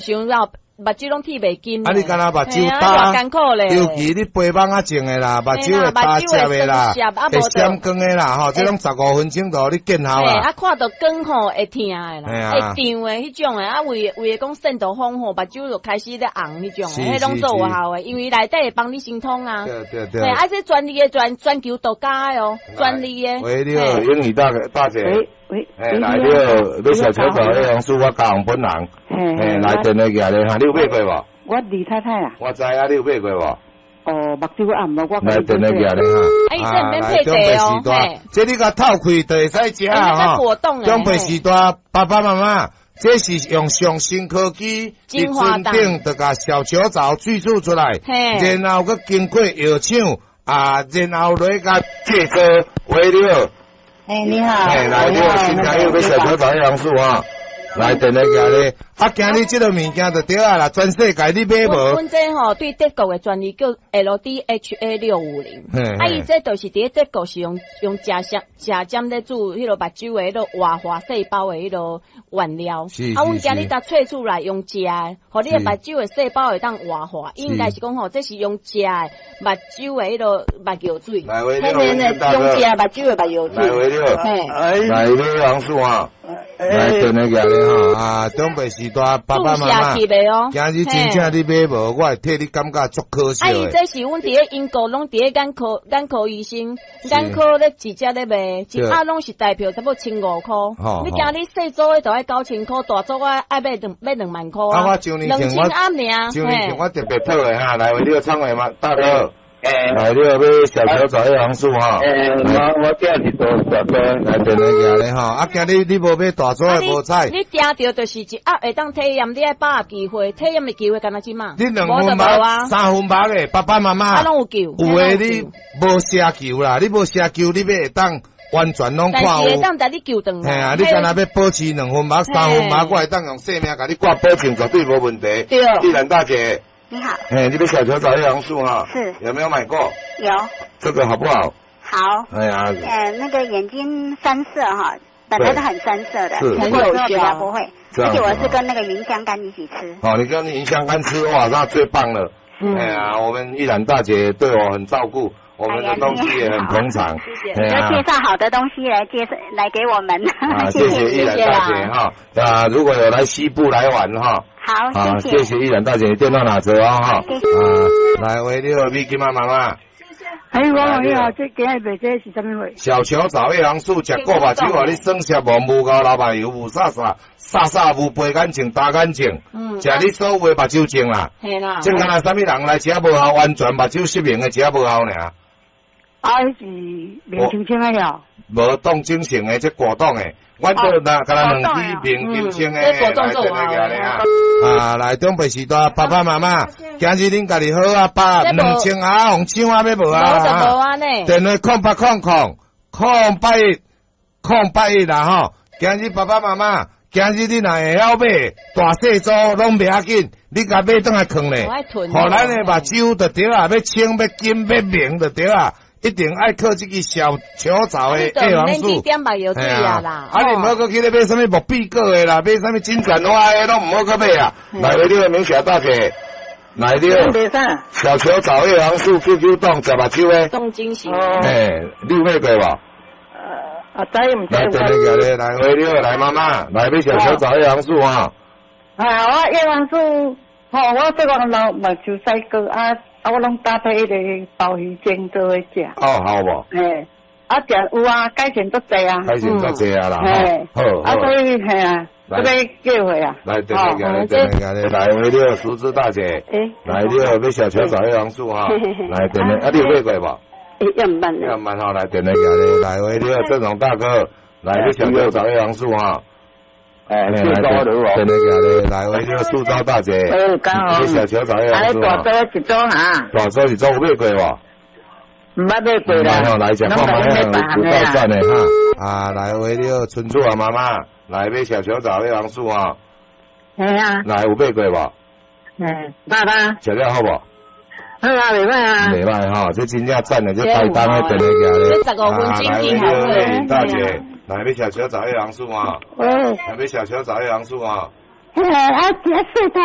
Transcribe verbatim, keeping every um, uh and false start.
傷了，目睭攏鐵袂金。啊，你敢若目睭焦艱苦咧。尤其你白蠓仔種的啦，目睭會焦澀的啦，會閃光的啦，吼，這攏十五分鐘就予你見效啦。啊，看著光吼會疼的啦，會脹的彼種的，啊，為為的講散度風吼，目睭就開始咧紅彼種的，彼攏做有效的，因為內底會幫你心通啊。對對對。啊，這專利的全全球獨家的哦，專利的。喂，你好，英語大大姐。喂，哎，來，你好，欲小球藻葉黃素，我高雄本人。嘿，來電話寄來哈，你有買過無？我李太太啊。我知啊，你有買過無？哦，目睭暗無我。來電話寄來哈。啊，來，長輩時代，這你共透開就會使食啊吼。長輩時代，爸爸媽媽，這是用上新科技，佇船頂就共小球藻萃取出來，然後閣經過藥廠啊，然後來共製作。喂，你好。哎，你好。哎，來，你好，新朋友欲小球藻葉黃素啊。來，電話寄咧，啊，今日這個物件就對啊啦，全世界你買無？阮這吼對德國的專利叫 L D H A 六五零，啊，伊這就是佇咧德國是用用食食食針咧煮彼個目睭的彼個活化細胞的彼個原料，啊，阮今日才萃出來用食的，予你的目睭的細胞會當活化，應該是講吼，這是用食的目睭的彼個目藥水，嘿嘿嘿，用食目睭的目藥水，來，來，葉黃素啊。來，電話寄咧吼啊！長輩時代，爸爸媽媽，今日真正你買無，我會替你感覺足可惜。啊，伊這是阮佇咧英國，攏佇咧眼科眼科醫生，眼科咧直接咧賣，一盒攏是台票差不多千五箍。你今日細組的就愛九千箍，大組的愛買兩買兩萬箍。啊，我上年前我上年前我特別討的哈，來為你個創話嘛，大哥。來，你欲買小球藻葉黃素哈？欸，我我囝是做大組，來電話寄咧吼。啊，今日你無買大組的無彩。你定著就是一盒會當體驗，你愛把握機會，體驗的機會敢若這馬。你兩分目、三分目的爸爸媽媽。啊，攏有救。有的你無奢求啦，你無奢求，你欲會當完全攏看有。但是會當共你救轉來。嘿啊，你敢若欲保持兩分目、三分目，我會當用性命共你掛保證，絕對無問題。對。麗蘭大姐。你好，哎，你欲小球藻葉黃素哈？是，有沒有買過？有。這個好不好？好。哎呀，呃，那個眼睛酸澀哈，本來都很酸澀的，是，吃過之後比較不會。而且我是跟那個芸香甘一起吃。哦，你跟芸香甘吃哇，那最棒了。哎呀，我們玉蘭大姐對我很照顧，我們的東西也很捧場。謝謝。要介紹好的東西來介紹來給我們。啊，謝謝玉蘭大姐哈。啊，如果有來西部來玩哈。好，謝謝。謝謝玉蘭大姐，電話拿著啊哈。啊，來，喂，你好，美金啊媽媽。哎，我你好，這今日賣這是啥物貨？小球藻葉黃素，食過目睭，予你酸澀無霧糊流目油，霧煞煞，煞煞霧白眼睛、焦眼睛。嗯。食你所有的目睭症啦。嘿啦。這敢若啥物人來食無效，完全目睭失明的食無效爾。啊，彼是明清清的了。無凍精神的，這果凍的。阮這若敢若兩支明金清的，來電話寄來啊！啊，來長輩時代，爸爸媽媽，今日恁家己好啊，爸兩千啊，予搶啊欲無啊？電話空八空空空八一空八一啦吼！今日爸爸媽媽，今日你若會曉買，大細組攏袂要緊，你共買轉來囥咧，予咱的目睭就對啊，欲清欲金欲明就對啊。一定愛靠這个小球藻的葉黃素。啊，啊，你毋好閣去咧買啥物木比果的啦，買啥物金盞花的，攏毋好閣買啊！來，你個明霞大姐，來你小球藻葉黃素 Q Q 凍食目睭的。凍精神。嘿，你有買過無？啊，知毋知？來，來，來，來，你好，來媽媽，來買小球藻葉黃素啊！啊，我葉黃素，吼，我這個老目睭洗過啊。啊，我攏搭配彼个鮑魚煎做伙食。哦，好無？嘿，啊，食有啊，改善足濟啊。改善足濟啊啦，好。啊，所以嘿啊，這欲叫貨啊。來，對對對對來，喂，你好，淑芝大姐。來，你好，欲小球藻葉黃素哈。來，電話，啊，你有買過無？欸，猶毋捌。猶毋捌吼，來電話來，來，喂，你好，鄭總大哥，來，欲小球藻葉黃素哈。哎，來，電話來，喂，你好，蘇州大姐。哎，剛好。欲小球藻葉黃素。大組一組哈。大組一組有買過無？毋捌買過啦。來食看覓，有夠讚的哈。啊，來，喂，你好，春柱啊，媽媽，來買小球藻葉黃素哈。嘿啊。來，有買過無？嗯，爸爸。食了好無？好啊，袂歹啊。袂歹吼，這真正讚的，這台東的電話寄咧。這十五分鐘見效來，大姐，來欲小球藻葉黃素啊。喂。來欲小球藻葉黃素啊。嘿，啊，一細肚。